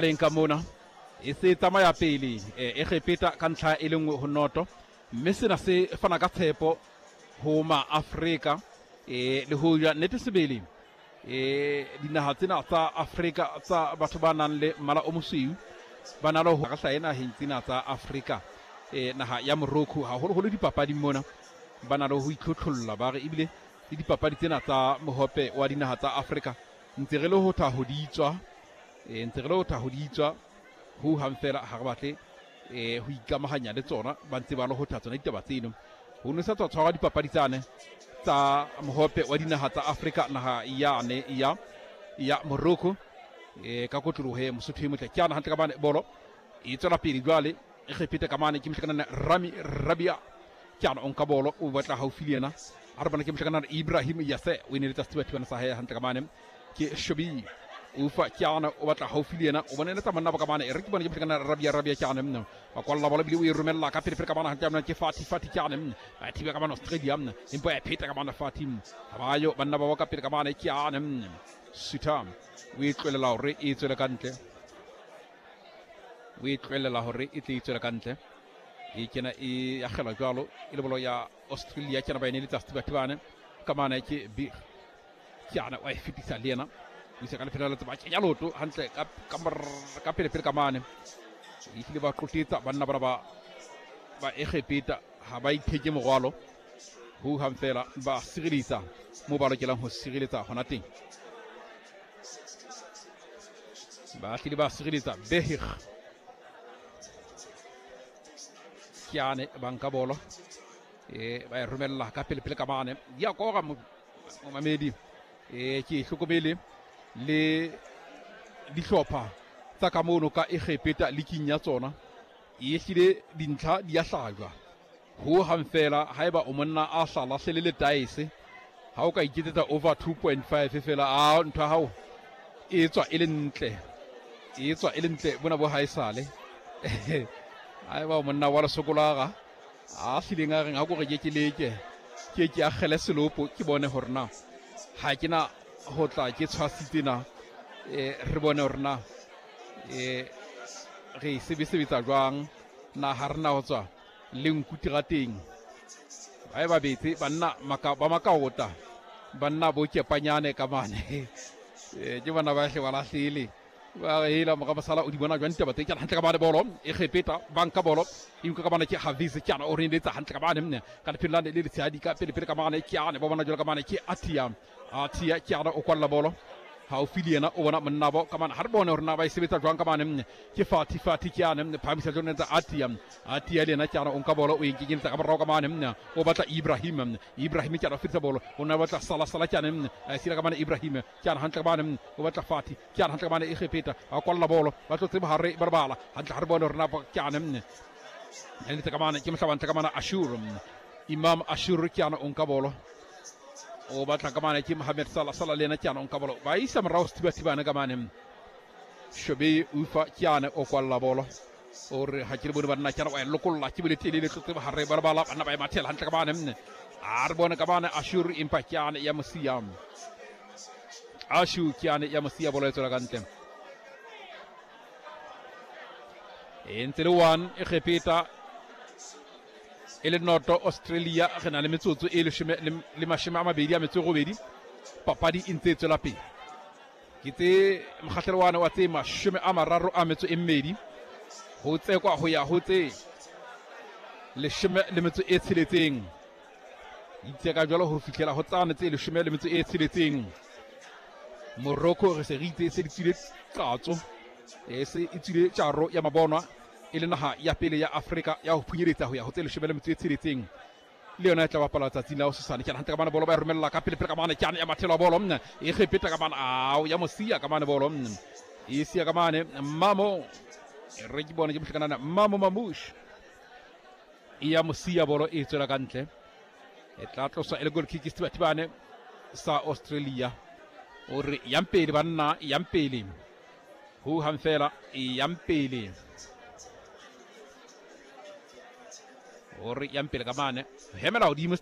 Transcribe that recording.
Leng ka mona e se tsamaya pele Egepeta ka ntlha e le nngwe ho noto, mme sena se fana ka tshepo ho Maafrika e le hoja nnete sebele e dinaha tsena tsa Afrika tsa batho ba nang le mmala o mosweu ba na le ho hlahe naheng tsena tsa Afrika e naha ya Morocco haholoholo dipapading mona ba na le ho itlhotlholla ba re ebile le dipapadi tsena tsa mohope wa dinaha tsa Afrika ntse re le ho tha ho di tswa e ntse re le ho tha ho di tswa ho hang fela ha re batle e ho ikamahanya le tsona ba ntse ba le ho tha tsona ditaba tseno ho ne sa tswa tshwarwa dipapadi tsane tsa mohope wa dinaha tsa Afrika naha yane ya ya Morocco e ka kotloloho e Mosotho e motle ke ana hantle ka bane bolo e tswela pele jwale e kgepete ka mane ke mohlakanana Rami Rabia ke ana o nka bolo o batla haufi le yena a re bona ke mohlakanana Ibrahim Yase o eneletsa sethibathibana sa hae hantle ka mane ke Shobi ufa ke ana o batla haufi le yena o bona eletsa monna ba ka mane e re ke bone ke mohlakanana Rabia Rabia ke ana mna ba kwalla bolo bile o e romella ka pele pele ka mane hantle mna ke Fati Fati ke ana mna ba thiba ka mane Australia mna empa ya pheta ka mane Fati ha ba yo banna ba ka pele ka mane ke ana mna Suta o e tlolela hore e tswele ka ntle o e tloelela hore e tle e tswele ka ntle e kena e akgelwa jwalo e le bolo ya Australia kena ba ene le tsa sethibathibane ka mane ke Big ke ana wa e fetisa le yena o isa ka lefelo la tseba kenya loto hantle ka ka pele pele ka mane e hlile ba qotetsa banna bana ba ba Egepeta ha ba itheke morwalo ho hang fela ba sireletsa mo ba lokelang ho sireletsa hona teng ba hlile ba sireletsa Behig Kiane ba nka bolo e ba e romella ka pele pele ka mane ya kora momamedi e ke hlokomele le dihlopha tsa ka mono ka Egepeta liking ya tsona e hlile dintlha di ya hlajwa ho hang fela haeba o monna a sa lahlele le taese ha o ka iketsetsa over 2.5 fela a ntho ya hao e tswa e le ntle e tswa e le ntle bona bo haesale haeba o monna wa lesokolaga a hlileng a reng ha ko re ke ke leke ke ke akgele selopo ke bone hore na ha ke na ho tla ke tshwasitse na e re bone hore na e re e sebesebetsa jwang na ha re na ho tswa le nku terateng ba e ba betse banna maka, ba makaota banna bo kepanyane ka mane e, ke bona ba hle ba lahlele ba re hela mora mosala o di bona jwang ditaba tse ke hantle ka bane bolo e kgepeta ba nka bolo e nka ka bana ke Haviz ke ana o re letsa hantle ka bane mne ka lefelo la le letshehadi ka pele pele ka mane ke ana ba bona jwalo ka mane ke Atia Atia ke ana o kwalla bolo haufi le yena o bona monnabo ka mane ha re bone hore na ba e sebetsa jwang ka mane mne ke Fati Fati ke ana mne phamisa jone tsa Atia Atia le yena ke ana o nka bolo o e nkenyetsa ka morao ka mane mne o batla Ibrahim mne Ibrahim ke ana o fetisa bolo o ne batla Sala Sala ke ana mne a sila ka mane Ibrahim ke ana hantle ka mane o batla Fati ke ana hantle ka mane Egepeta ba kwalla bolo ba tlotse bohare ba bala hantle ha re bone hore na ke ana mne le ka mane ke mohlaba ntle ka mane Ashur Imam Ashur ke ana o nka bolo o batla ka mane ke Mohamed Salah Salah le yena ke ana o nka bolo ba isa morao sethibathibane ka mane Shobe Ufa ke ana o kwalla bolo o re ha ke le bone banna ke ana wa e lokolla ke bole telele tlotse bohare ba bala banna ba e mathela hantle ka mane mne a re bone ka mane Ashur empa ke ana ya mosia Ashu ke ana ya mosia bolo e tswela ka ntle e ntse le one e kgepeta e le noto Australia re na le metsotso e leshome le mashome a mabedi a metso e robedi papadi e ntse e tswela pele ke tse mokgahlelo wane wa tse mashome a mararo a metso e mmedi ho tsekwa ho ya ho tse leshome le metso e tsheletseng itseka jwalo ho fihlela ho tsane tse leshome le metso e tsheletseng Morocco re se re itse e se di tswile qatso e se e tswile tjaro ya mabonwa e le naha ya pele ya Afrika ya ho phunyeletsa ho ya ho tse leshome le metso e tsheletseng le yona e tla bapala tsatsing la hosasane ke hantle ka mane bolo ba e romella ka pele pele ka mane ke ya mathelo a bolo e kgepeta ka mane ao ya mosia ka mane bolo e sia ka mane mamo e re ke bone ke mohlakanana mamo mamush e ya mosia bolo e tswela ka ntle e tla tloswa e le goal kick sethibathibane sa Australia o re yang pele banna yang pele ho hang fela yang pele o re yang pele ka mane hemela hodimo.